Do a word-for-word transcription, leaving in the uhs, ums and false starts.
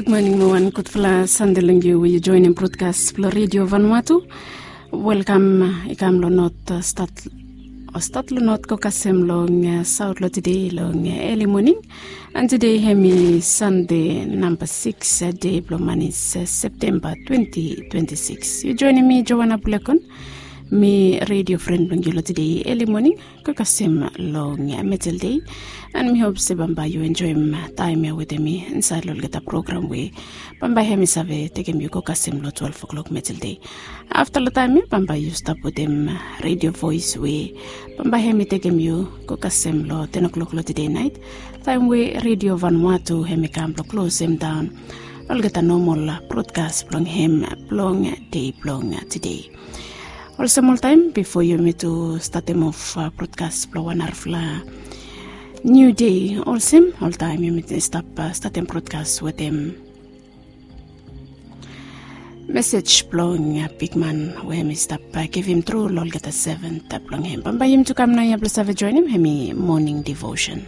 Gud moning mo wan gudfala Sande long yu we yu joinim brotkas blong Redio Vanuatu. Welkam i kam long not stat o stat long not go kasem long saut long tede long eli moning. And tede hem i Sande namba siks, de blong manis Septemba twenti twenti siks. Yu joinim mi Joana Bulekon. Mi redio fren blong yu long tede eli moning go kasem long metel dei. And mi hop se bambae yu enjoim taem ya wetem mi insaed long olgeta program we bambae hem i save tekem yu go kasem long twelef oklok metel dei. Afta long taem ya bambae yu stap wetem redio voes we bambae hem i tekem yu go kasem long ten oklok long tede naet, taem we Redio Vanuatu hem i kam blong klosem daon olgeta nomol brotkas blong hem blong dei blong tede. Olsem oltaem bifo yumi tu statem of brotkas blong wan narafala niu dei, olsem oltaem yumi stap statem brotkas wetem mesej blong bikman we hem i stap givim tru long olgeta seven blong hem. Bambae yumi tu kam naoia blong save joinim hem i moning devotion.